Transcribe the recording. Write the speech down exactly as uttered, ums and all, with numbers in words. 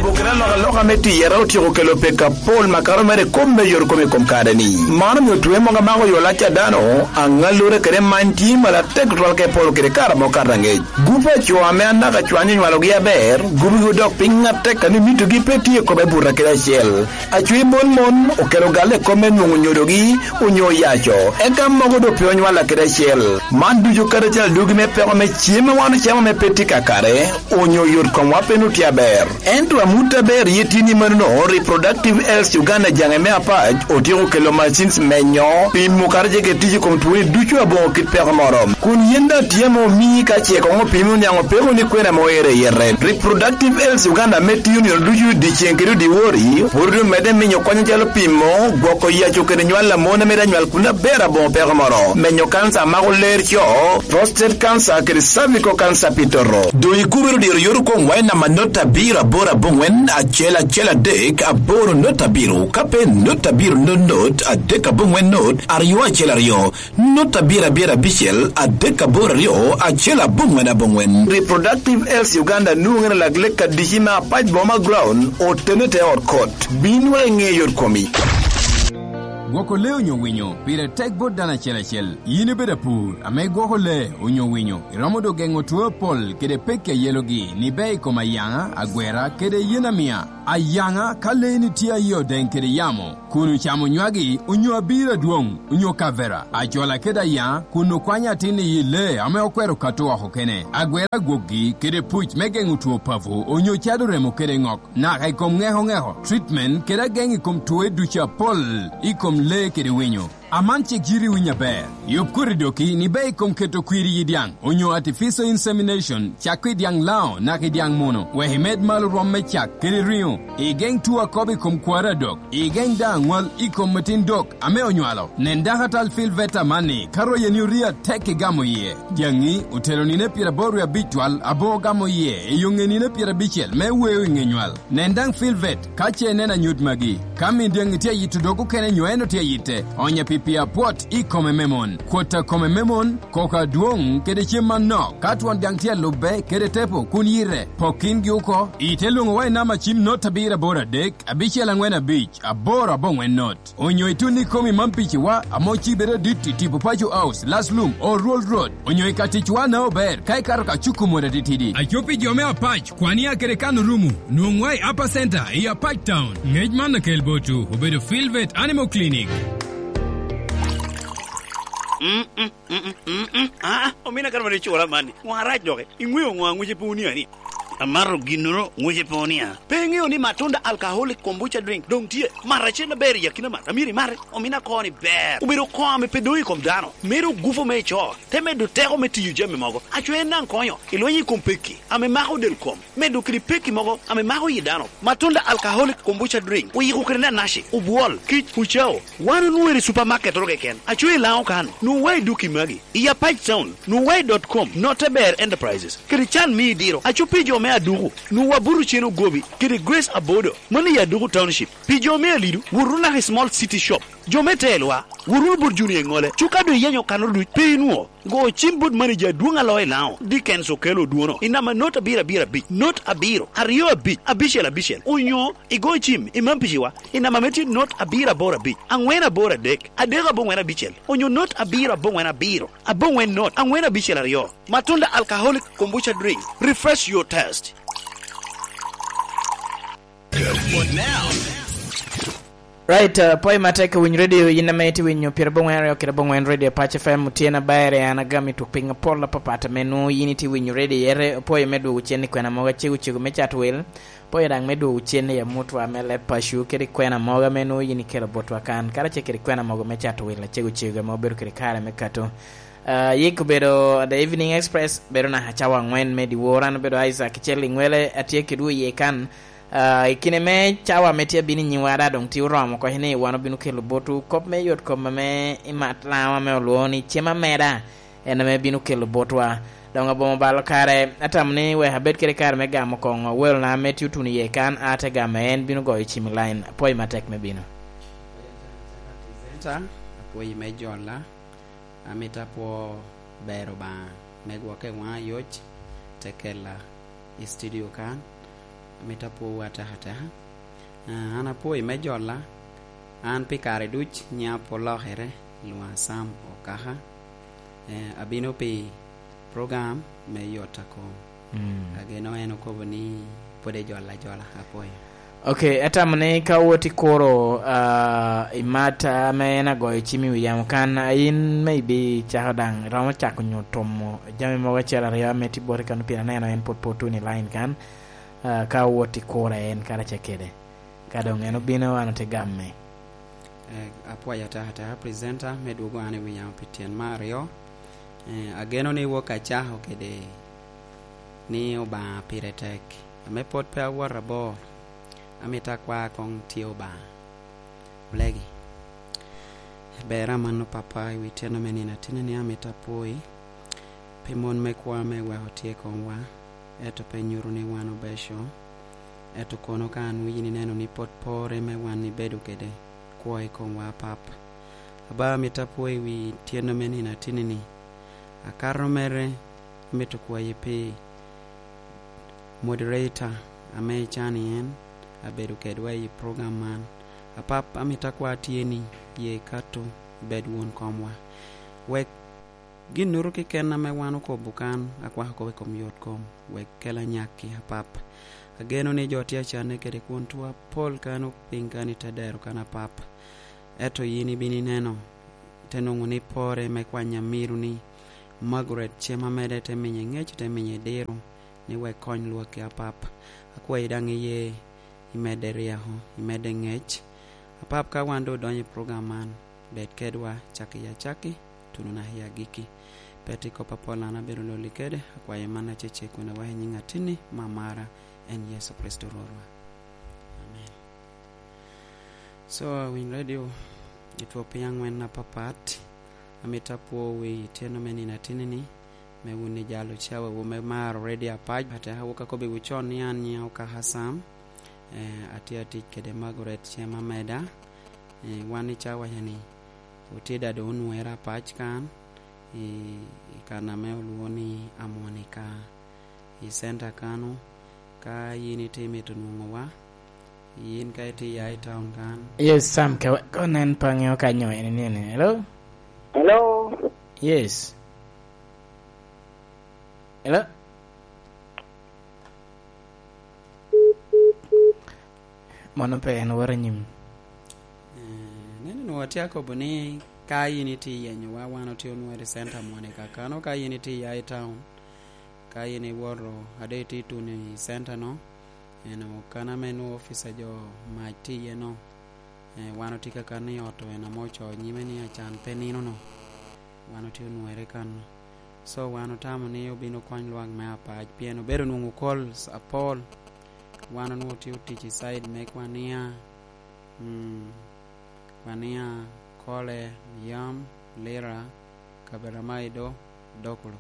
Pokere alokaloka me tiyere otyeko kelo peko apol makato mere i kop me yot kome i kom kare-ni. Man omio twe mogo amako yo lac a dano, aŋallure kede many tye malo atek tutwal ka ipolo kede kare amo kato aŋec. Gupe a co ame anaka cwany onywalogi aber, gubigi odok piny atek a ni mitogi pe tye i kome buto kede acel. Acwi mon mon okelo galle i kop me nwoŋo nyodogi onyo oyaco, eka mogo doŋ pe onywalla kede acel. Man ducu kadi acel adugi me peko me cem a wan ocamo ame pe tye kakare, onyo yot komwa pe nut tye aber. Ento amut aber iye tye ni manono, Reproductive Health Uganda jaŋe me apac otyeko kelo machines menyo, pimo kadi ce kede tic i kom twoni ducu aboŋo kit peko moro. Kun yen daŋ tye ame omii ka ce koŋ opimi oniaŋ opeko ni kwena ame oero i yete. Reproductive Health Uganda ame tiyo nino ducu dyeceŋ kede dyewor, pwod omedde minyo kony acalo pimo, gwoko yaco kede nywal a mon ame daŋ nywal kun aber aboŋo peko moro, menyo kanca a mako ler co, prostate cancer kede cervical cancer pi toto. Doŋ ikubere odiro yot okoŋwa i namba not abiro aboro aboŋwen acel acel adek aboro not abiro, ka pe not abiro not not adek aboŋwen not aryo acel aryo. Not abiro abiro abicel adek aboro aryo acel aboŋwen aboŋwen. Reproductive Health Uganda nwoŋere lak lek adici me apac boma ground otene te ot kot. Bin wa iŋe yot komi. Gwoko lee onyo winyo pire tek bot dano acel acel. Yin ibedo apur ame igwoko lee onyo winyo, iromo doŋ geŋo two apol kede pekki a yelogi ni ber i kom ayaŋa, agwera, kede yen amiya. Ayaŋa ka leeni tye aye odeŋ kede yamo, kun ocamo nywagi onyo abiro adwoŋ, onyo kavera, acola kede ayaŋa, kun okwanyo atin i yi lee ame okwero kato oko kene, agwera gwokgi kede puc me geŋo two papo, onyo cado remo kede ŋok, naka i kom ŋeko ŋeko, treatment kede ageŋ i kom twoe ducu apol i kom lee kede winyo. Aman cik yiti winyo aber. Yub koti doki ni ber i kom keto kwir i yi dyaŋ, onyo artificial insemination, cak i dyaŋ lao naka i dyaŋ muno, wek imed malo rwom me cak kede riŋo. Igeŋ two akobo i kom kwaro adok. Igeŋ daŋ aŋwal i kom atin dok ame onywalo. Nen dakatal Phil Veta amanni, ka royeni orii atek igamo iye. Dyaŋi otelo nino pyeraboro wie abic twal aboŋo gamo iye i yo ŋe nino pyerabicel me weo i ŋe nywal. Nen daŋ Phil Vet ka ce ineno anyut magi. Ka min dyaŋi tye ayito dog okene nyo en otye ayitte, onye pi pii apwot i kome me mon, kwot a kome me mon, koko adwoŋ kede cem manok. Ka twon dyaŋ tye alubbe kede tepo kun yite, pok kingi oko. Ite lwoŋowa i namba cim not abiro aboro adek, abicel aŋwen abic, aboro aboŋwen not. Onyo itun i kom i man piciwa ame ocibere adit i tipo Paco House, Last Lum, Old Road, onyo i ka ticwa na ober ka ikato ka cuku mot atitidi. Aco pi jo me Apac, kwan ya kede kan orumo, nwoŋwa i Upper Center i Apac Town. Ngec man akel botwu obedo Phil Vet Animal Clinic. Mm, mm, mm, mm, mm, mm. Ah, omina kare mane icura man-ni. Ŋo arac doki? Iŋweo ŋo aŋwece pe onia-ni? Amato ginnoro ŋwece pe onia. Pe iŋeo ni Matunda Alcoholic Kombucha Drink doŋ tye? Mat acel aber i akina mat. Amyero imate. Omina koni ber. Obedo koŋ ame pe doŋ i kom dano. Medo gupu me ico. Te medo teko me tiyo jami mogo. Aco en daŋ konyo i lweny i kom pekki ame mako del kom. Medo kede pekki mogo ame mako yi dano. Matunda Alcoholic Kombucha Drink oyiko kede nanaci, obwol, kic, pucao. Wan onwoŋo i supermarket oro keken. Aco i Laŋo kan. Nwoŋo wa i duki magi. I Apac Town. Nwoŋo wa i dot com, Noteber Enterprises. Kede can me idiro. Aco pi jo me Aduku. Nwoŋo wa buto cen ogobi. Kede Grace Abodo. Mano i Aduku Township. Pi jo me Alidu, wot wunu naka i Small City Shop. Jo me Telwa, wot wunu bot Junior Iŋole. Cuka doŋ iyenyo kanoro duc, pe inwoŋo. Go cim bot manager adwoŋ alo i Laŋo, Dickens Okello Odwono, i namba not abiro abiro abic, not abiro, aryo abic, abicel abicel. Onyo igo cim i man piciwa, i namba me tye not abiro aboro abic, aŋwen aboro adek, adek aboŋwen abicel. Onyo not abiro aboŋwen abiro, aboŋwen not, aŋwen abicel aryo. Matunda Alcoholic Kombucha Drink. Refresh your taste. Right, uh, pwoyo matek i Winy Radio, yin ame itye winyo pyeradek aboŋwen aryo kede aboŋwen Radio Pac F M, tye na ber, an agamo i tuk piny apol apapat ame nwoŋo yin itye winyo radio yere. Pwoyo me dwogo cen i kwena mogo acego cego me cat wel, pwoyo daŋ me dwogo cen i amutwa me leb paco kede i kwena mogo ame nwoŋo yin ikelo botwa kan, karacel kede i kwena mogo me cat wel acego cego ame obedo kede kare me kato. Uh, yik obedo The Evening Express, bedo naka cawa aŋwen me dyewor. An obedo Isaac Cel Iŋwele, atye kedwu iye kan. Ah, i kine me cawa ame tye abino i nyimwa daŋ doŋ tye oromo oko ni wan obino kelo botwu kop me yot kom ame i mat Laŋo ame olwoŋo ni cem ameda, en ame bino kelo botwa. Doŋ abomo balo kare, atamo ni wek abed kede kare me gamo koŋo welona ame tye otuno iye kan, a te gamo en bino goyo cim i line. Apwoyo matek me bino. Presenter, apwoyi me jola. Amito apwo ber Obaŋa me gwokke waŋa yoc, te kela i studio kan. Amito apwowu ataka ataka. Ah, an apwoyi me jolla. An pi kare duc nyiŋa pwod olokere, lwoŋa Sam Okaka. Eh, abino pi program me yot akom. Mm. Ageno en okobo ni pwod ejola ajola, apwoyo. Ok, atamo ni ka wot ikuro, ah, i mat, ah, ame en agoyo cim i wi yamo kan, ah, in me ibi cako daŋ, iromo cako nyo tomo jami mogo acel aryo ame tye boti kan, pien aneno en pwod pe otuno i line kan, ah, ka wot ikuro en karacel kede. Ka doŋ en obino, an ote gamme. Eh, apwoyo ataka ataka presenter me dwogo an i wi yamo pi tyen me aryo. Eh, ageno ni wok acako kede ni Obaŋa pire tek. Ame pwod pe awot abor, amito akwa koŋ tye Obaŋa. Olegi. Ber amanno, Papa, i wi tyen me nino ateni ni amito apwoyi pi mon me kwo ame iweko tye i komwa, ento pe nyuto ni wan obeco, ento kono ka anwinyo ineno ni pwod porre me wan ibedo kede kwo i komwa, Pap. Aba, amito apwoyi i wi tyen me nino ateni ni, akato mere amito kwayi pi moderator ame icano en abedo kedwa i program man. Apap, amito akwa tye ni, ye ikato ibed won komwa. Wek ginnoru keken ame wan okobo kan, akwako kop i kom yot kom, wek kel anyakki, Apap. Ageno ni jo tye acanne kede kwon tuo apol kan opiny kan i te dero kan, Apap. Ento yin ibino ineno, ite nwoŋo ni porre me kwanya miro ni Margaret cem amede te menye ŋec, te menye diro, ni wek kony lwakki, Apap. Akwayi daŋ iye imedde ryeko, imedde ŋec. Apap, ka wan doŋ odonyo i program man, bed kedwa, cakki i acakki, tuno naka i agikki. Pe tye kop apol an abedo lolli kede, akwayo man acecek kun aweko i nyiŋ Atinni, me amara, en Yecu Kricito Rwotwa. Amen. So, awiny radio, itwo piny aŋwen apapat, amito apwowu i tyeno me nino Atinni-ni, me wun i jalo cawawu me maro radio apac, but awoka kobbiwu con ni an nyiŋa Okaka Sam, eh, atye atic kede Margaret Cem Ameda. Eh, wan i cawa ca-ni, otye daŋ doŋ onwoŋere apac kan, i, i kan ame olwoŋo ni Amwonika, i center kano, ka yin itye mito nwoŋowa, yin ka itye ya i town kan. Yes, Sam, ka, ka nen pa ŋeo ka nyo en ni, ni, hello? Hello? Yes. Hello? Mano pe en woro anyim. Eh, nene, nwoŋo atye akobo ni ka yin itye yenyowa, wan otye onwoŋo i center moni kakano, ka yin itye ya i town, ka yin iwoto, ade itye tuno i center no, eno kan ame nwoŋo office a jo mac tye iye no, eh, wan otye kakano i ot, en ame ocoo nyime ni acan pe nino no. Wan otye onwoŋere kan. So, wan otamo ni obin okony lwak me apac, pien obedo nwoŋo calls apol. Wan onwoŋo tye otic i side me Kwania, mm, Kwania, Kole, Yam, Lira, Kaberamaido, Dokolo.